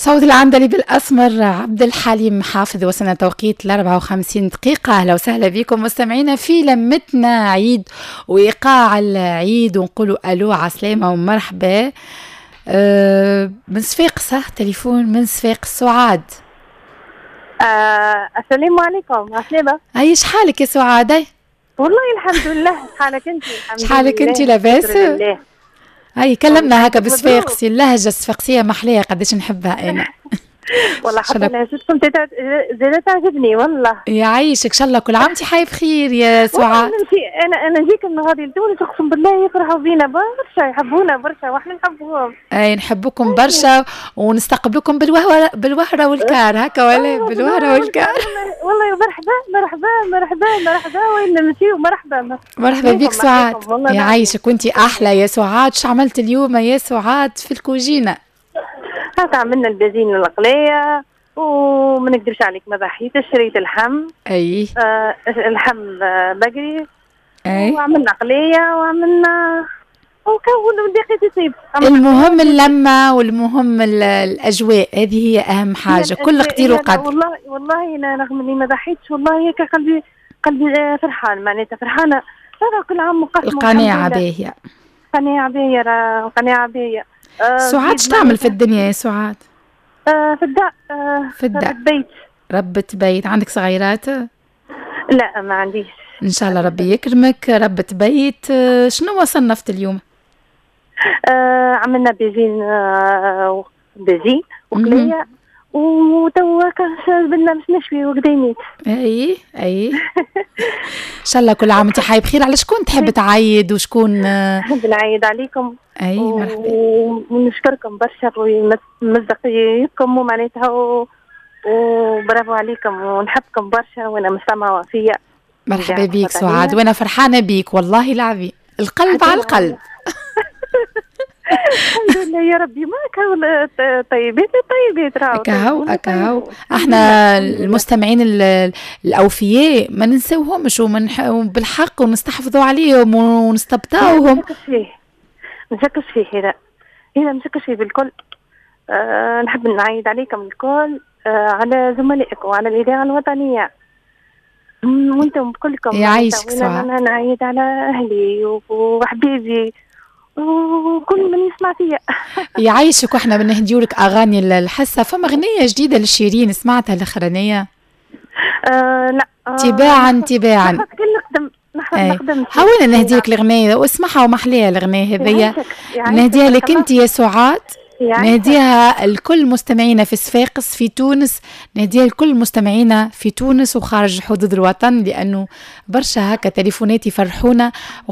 صوت العندليب الأسمر عبد الحليم حافظ. وصلنا توقيت ل 54 دقيقة. أهلا وسهلا بكم مستمعينا في لمتنا عيد وإيقاع العيد، ونقولوا ألو عسلامة ومرحبا. من صفاقس، تليفون من صفاقس، سعاد. السلام عليكم، عسلامة. أي شحالك يا سعاد؟ والله الحمد لله، شحالك انت؟ شحالك انت؟ لاباس؟ اي كلمنا هكا بالصفاقسي، اللهجة الصفاقسيه محليه قداش نحبها انا. والله حتى لهجتكم زادت تعجبني والله. يعيشك، ان شاء الله كل عام وانت حي بخير يا سعاد. انا نجيك من غادي لتونس، اقسم بالله يفرحوا بينا برشا، يحبونا برشا واحنا نحبوهم. اي نحبوكم برشا ونستقبلكم بالوهره بالوهره والكار هكا ولا بالوهره والكار. والله مرحبا مرحبا مرحبا مرحبا، وين نمشيو مرحبا. مرحبا بك سعاد، يعيشك وانت احلى يا سعاد. شو عملت اليوم يا سعاد في الكوجينه؟ هكا عملنا البازين القلاية، وما نكذبش عليك ما ضحيتش، شريت اللحم. اي اللحم بقري. اي وعملنا قلية وعملنا وكون الباقي يصيب. المهم اللمة والمهم الأجواء، هذه هي أهم حاجة، كل قدير وقدر. والله والله أنا رغم إني ما ضحيتش والله هيك قلبي فرحان، معناتها فرحانة. هذا كل عام مقسم. القناعة باهية. قناعة باهية، قناعة باهية. سعاد اش تعمل في الدنيا يا سعاد؟ في الدار. في الدار. ربة بيت. ربة بيت، عندك صغيرات؟ لا ما عنديش. ان شاء الله ربي يكرمك. ربة بيت، شنو صنفت اليوم؟ عملنا بيزين بيزين وقلية، وتوا بدنا باش نشوي وقديميت. اي اي ان شاء الله كل عام وانت حي بخير. على شكون تحب تعيد وشكون؟ نحب نعيد عليكم. اي مرحبا. ونشكركم برشا ومصداقيتكم ومعناتها وبرافو عليكم ونحبكم برشا، وانا مستمعة وفية. مرحبا بيك سعاد، وانا فرحانة بيك والله العظيم، القلب على القلب. الحمد لله يا ربي، ما كان طيبات طيبات راهو. اكاهو اكاهو، احنا المستمعين الاوفياء ما ننساوهمش وبالحق ونستحفظوا عليهم ونستبطاوهم. ما نشكش فيه هذا، هذا ما نشكش فيه بالكل. نحب نعيد عليكم الكل، على زملائك وعلى الإذاعة الوطنية وانتم كلكم. يعيشك سعاد. انا نعيد على اهلي وحبيبي وكل من يسمع فيا. يعيشك، واحنا بنهديو لك اغاني الحصة. فما اغنية جديدة لشيرين سمعتها الاخرانية؟ لا. تباعا تباعا. نقدم نقدم. هاوينا نهديك الاغنية واسمعها ومحليها الاغنية هذيا. نهديها لك انت يا سعاد، نهديها لكل مستمعينا في صفاقس في تونس، نهديها لكل مستمعينا في تونس وخارج حدود الوطن، لانه برشا هكا تليفونات يفرحونا.